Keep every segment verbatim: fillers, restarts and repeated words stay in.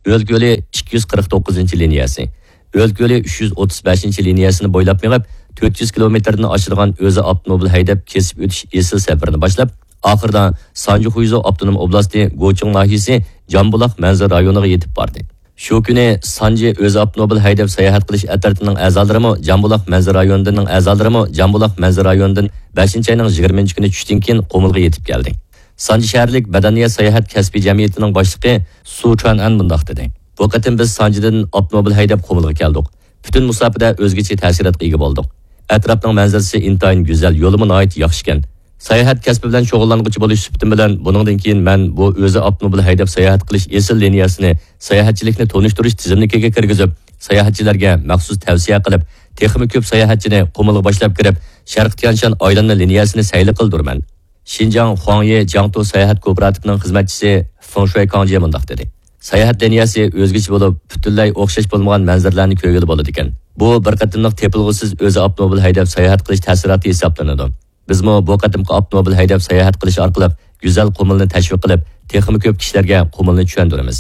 ئۆلكە يولى ئىككى يۈز قىرىق توققۇزىنچى لىنىيەسى، ئۆلكە يولى ئۈچ يۈز ئوتتۇز بەشىنچى لىنىيەسىنى بويلاپ مېڭىپ، تۆت يۈز كىلومېتىردىن ئاشىدىغان ئۆزى ئاپتوموبىل ھەيدەپ كېسىپ ئۆتۈش ئېسىل سەپىرىنى باشلاپ، ئاخىرىدا سانجى خۇيزۇ ئاپتونوم ئوبلاستى گوچىڭ ناھىيەسى جامبۇلاق مەنزىرە رايونىغا يېتىپ باردى. شۇ كۈنى سانجى ئۆزى ئاپتوموبىل ھەيدەپ ساياھەت قىلىش ئەترىتىنىڭ ئەزالىرىمۇ جامبۇلاق مەنزىرە رايونىدىن، ئەزالىرىمۇ جامبۇلاق مەنزىرە رايونىدىن بەشىنچى ئاينىڭ يىگىرمىنچى كۈنى چۈشتىن كېيىن قۇمۇلغا يېتىپ كەلدى. سانجى شەھەرلىك مەدەنىيەت ساياھەت كەسپىي جەمئىيىتىنىڭ باشلىقى سۇ چۈەن ئەن مۇنداق دېدى: بۇ قېتىم بىز سانجىدىن ئاپتوموبىل ھەيدەپ قۇمۇلغا كەلدۇق. پۈتۈن مۇساپىدە ئۆزگىچە تەسىراتقا ئىگە بولدۇق. ئەتراپنىڭ مەنزىرىسى ئىنتايىن گۈزەل، يولىمۇ ناھايىتى ياخشىكەن. ساياھەت كەسپى بىلەن شۇغۇللانغۇچى بولۇش سۈپىتىم بىلەن، بۇنىڭدىن كېيىن مەن بۇ ئۆزى ئاپتوموبىل ھەيدەپ ساياھەت قىلىش ئېسىل لىنىيەسىنى ساياھەتچىلىكنى تونۇشتۇرۇش تىزىملىكىگە كىرگۈزۈپ، ساياھەتچىلەرگە مەخسۇس تەۋسىيە قىلىپ، تېخىمۇ كۆپ ساياھەتچىنى قۇمۇلغا باشلاپ كىرىپ، شەرقىي تيەنشان ئايلانما لىنىيەسىنى سەيلە قىلدۇرىمەن. شىنجاڭ خۇاڭيې جياڭتۇ ساياھەت كوپىراتىپىنىڭ خىزمەتچىسى فېڭ شۇەي كاڭجيې مۇنداق دېدى: ساياھەت لىنىيەسى ئۆزگىچە بولۇپ، پۈتۈنلەي ئوخشاش بولمىغان مەنزىرىلەرنى كۆرگىلى بولىدىكەن. بۇ بىر قېتىملىق تېپىلغۇسىز ئۆزى ئاپتوموبىل ھەيدەپ ساياھەت قىلىش تەسىراتى ھېسابلىنىدۇ. بىزمۇ بۇ قېتىمقى ئاپتوموبىل ھەيدەپ ساياھەت قىلىش ئارقىلىق گۈزەل قۇمۇلنى تەشۋىق قىلىپ، تېخىمۇ كۆپ كىشىلەرگە قۇمۇلنى چۈشەندۈرىمىز.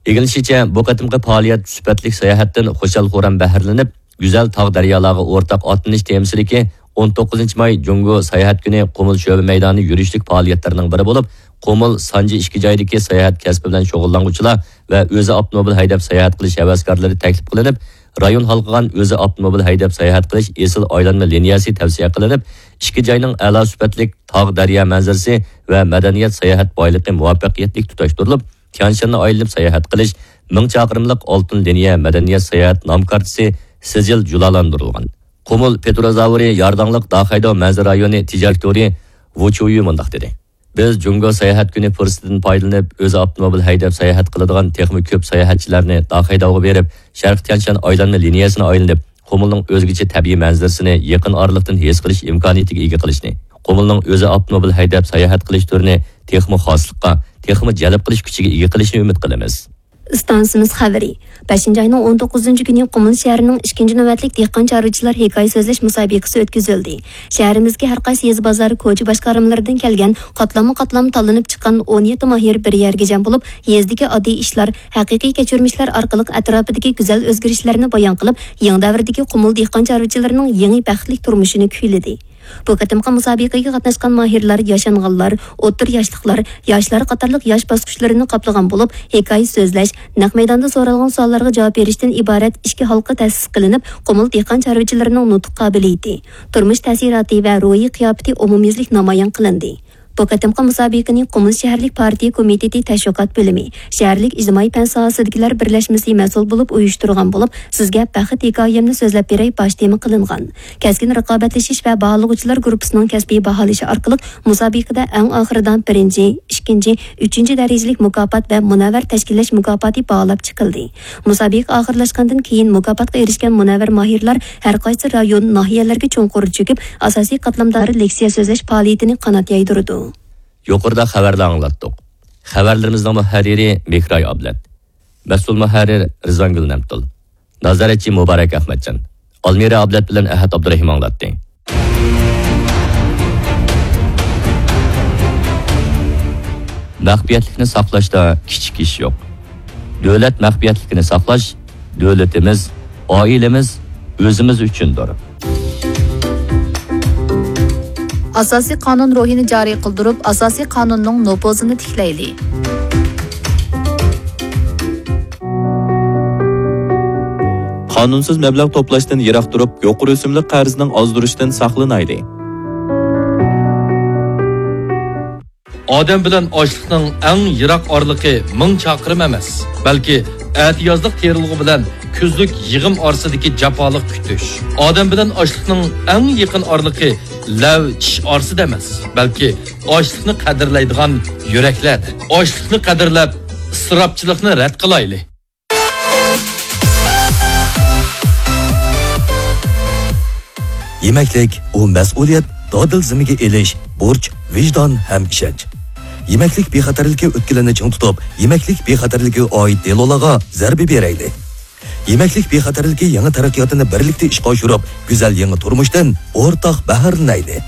ئىگىلىنىشىچە، بۇ قېتىمقى پائالىيەت سۈپەتلىك ساياھەتتىن خۇشال-خۇرام بەھرىلىنىپ، گۈزەل تاغ-دەريالارغا ئورتاق ئاتلىنىش تېمىسىدىكى ئون توققۇزىنچى ماي جۇڭگو ساياھەت كۈنى قۇمۇل شۆبە مەيدانى يۈرۈشلۈك پائالىيەتلىرىنىڭ بىرى بولۇپ، قۇمۇل سانجى ئىككى جايدىكى ساياھەت كەسپى بىلەن شۇغۇللانغۇچىلار ۋە ئۆزى ئاپتوموبىل ھەيدەپ ساياھەت قىلىش ھەۋەسكارلىرى تەكلىپ قىلىنىپ، رايون ھالقىغان ئۆزى ئاپتوموبىل ھەيدەپ ساياھەت قىلىش ئېسىل ئايلانما لىنىيەسى تەۋسىيە قىلىنىپ، ئىككى جاينىڭ ئەلا سۈپەتلىك تاغ-دەريا مەنزىرىسى ۋە مەدەنىيەت ساياھەت بايلىقى مۇۋەپپەقىيەتلىك تۇتاشتۇرۇلۇپ، تيەنشاننى ئايلىنىپ ساياھەت قىلىش مىڭ چاقىرىملىق ئالتۇن لىنىيە مەدەنىيەت ساياھەت نام كارتىسى سىجىل جۇلالاندۇرۇلغان. قۇمۇل پېتروزاۋرى يارداڭلىق داخەيداۋ مەنزىرە رايونى تىجارەت تورى ۋۇ چيۇيۈ مۇنداق دېدى: بىز جۇڭگو ساياھەت كۈنى پۇرسىتىدىن پايدىلىنىپ، ئۆزى ئاپتوموبىل ھەيدەپ ساياھەت قىلىدىغان تېخىمۇ كۆپ ساياھەتچىلەرنى داخەيداۋغا بېرىپ، شەرقىي تيەنشان ئايلانما لىنىيەسىنى ئايلىنىپ، قۇمۇلنىڭ ئۆزگىچە تەبىئىي مەنزىرىسىنى يېقىن ئارىلىقتىن ھېس قىلىش ئىمكانىيىتىگە ئىگە قىلىشنى، قۇمۇلنىڭ ئۆزى ئاپتوموبىل ھەيدەپ ساياھەت قىلىش تۈرىنى تېخىمۇ خاسلىققا، تېخىمۇ جەلپ قىلىش كۈچىگە ئىگە قىلىشىنى ئۈمىد قىلىمىز. ئىستانسىمىز خەۋىرى. بەشىنچى ئاينىڭ ئون توققۇزىنچى كۈنى قۇمۇل شەھىرىنىڭ ئىككىنچى نۆۋەتلىك دېھقان چارۋىچىلار ھېكايە سۆزلەش مۇسابىقىسى ئۆتكۈزۈلدى. شەھىرىمىزدىكى ھەر قايسى يېزا بازار، كوچا باشقارمىلىرىدىن كەلگەن قاتلاممۇ قاتلام تاللىنىپ چىققان ئون يەتتە ماھىر بىر يەرگە جەم بولۇپ، يېزىدىكى ئاددىي ئىشلار، ھەقىقىي كەچۈرمىشلەر ئارقىلىق ئەتراپىدىكى گۈزەل ئۆزگىرىشلەرنى بايان قىلىپ، يېڭى دەۋردىكى قۇمۇل دېھقان چارۋىچىلىرىنىڭ يېڭى بەختلىك تۇرمۇشىنى كۈيلىدى. بۇ قېتىمقى مۇسابىقىگە قاتناشقان ماھىرلار ياشانغانلار، ئوتتۇرا ياشلىقلار، ياشلار قاتارلىق ياش باسقۇچلىرىنى قاپلىغان بولۇپ، ھېكايە سۆزلەش، نەق مەيداندا سورالغان سوئاللارغا جاۋاب بېرىشتىن ئىبارەت ئىككى ھالقا تەسىس قىلىنىپ، قۇمۇل دېھقان چارۋىچىلىرىنىڭ نۇتۇق قابىلىيىتى، تۇرمۇش تەسىراتى ۋە روھىي قىياپىتى ئومۇميۈزلۈك نامايان قىلىندى. بۇ قېتىمقى مۇسابىقىنى قۇمۇل شەھەرلىك پارتىيە كومىتېتى تەشۋىقات بۆلۈمى، شەھەرلىك ئىجتىمائىي پەن ساھەسىدىكىلەر بىرلەشمىسى مەسئۇل بولۇپ ئۇيۇشتۇرغان بولۇپ، سىزگە بەخت ھېكايەمنى سۆزلەپ بېرەي باش تېما قىلىنغان. كەسكىن رىقابەتلىشىش ۋە باھالىغۇچىلار گۇرۇپپىسىنىڭ كەسپىي باھالىشى ئارقىلىق مۇسابىقىدە ئەڭ ئاخىرىدا بىرىنچى، ئىككىنچى، ئۈچىنچى دەرىجىلىك مۇكاپات ۋە مۇنەۋۋەر تەشكىللەش مۇكاپاتى باھالاپ چىقىلدى. مۇسابىقە ئاخىرلاشقاندىن كېيىن مۇكاپاتقا ئېرىشكەن مۇنەۋۋەر ماھىرلار ھەر قايسى رايون، ناھىيەلەرگە چوڭقۇر چۆكۈپ، ئاساسىي قاتلامدا لېكسىيە سۆزلەش پائالىيىتىنى قانات يايدۇرىدۇ. يۇقىرىدا خەۋەرلەر ئاڭلاتتۇق. خەۋەرلىرىمىزنىڭ مۇھەررىرى مېھراي ئابلەت. مەسئۇل مۇھەررىر رىزۋانگۈل نەمتۇل. نازارەتچى مۇبارەك ئەخمەتجان. ئالمىرە ئابلەت بىلەن ئەھەت ئابدۇرېھىم ئاڭلاتتى. مەخپىيەتلىكنى ساقلاشتا كىچىك ئىش يوق. دۆلەت مەخپىيەتلىكىنى ساقلاش دۆلىتىمىز، ئائىلىمىز، ئۆزىمىز ئۈچۈندۇر. ئاساسىي قانۇن روھىنى جارى قىلدۇرۇپ، ئاساسىي قانۇننىڭ نوپۇزىنى تىكلەيلى. قانۇنسىز مەبلەغ توپلاشتىن يىراق تۇرۇپ، يۇقىرى ئۆسۈملۈك قەرزنىڭ ئازدۇرۇشىدىن ساقلىنايلى. ئادەم بىلەن ئاشلىقنىڭ ئەڭ يىراق ئارىلىقى مىڭ چاقىرىم ئەمەس، بەلكى ئەتىيازلىق تېرىلغۇ بىلەن كۈزلۈك يىغىم ئارىسىدىكى جاپالىق كۈتۈش. ئادەم بىلەن ئاشلىقنىڭ ئەڭ يېقىن ئارىلىقى لەۋ چىش ئارىسىدا ئەمەس، بەلكى ئاشلىقنى قەدىرلەيدىغان يۈرەكلەردە. ئاشلىقنى قەدىرلەپ، ئىسراپچىلىقنى رەت قىلايلى. يېمەكلىك، ئۇ مەسئۇلىيەت، دادىل زىممىگە ئېلىش، بۇرچ، ۋىجدان ھەم ئىشەنچ. يېمەكلىك بىخەتەرلىكى ئۆتكىلىنى چىڭ تۇتۇپ، يېمەكلىك بىخەتەرلىكىگە ئائىت دېلولارغا زەربە بېرەيلى. يېمەكلىك بىخەتەرلىكى يېڭى تەرەققىياتىنى بىرلىكتە ئىشقا ئاشۇرۇپ، گۈزەل يېڭى تۇرمۇشتىن ئورتاق بەھرىلىنەيلى.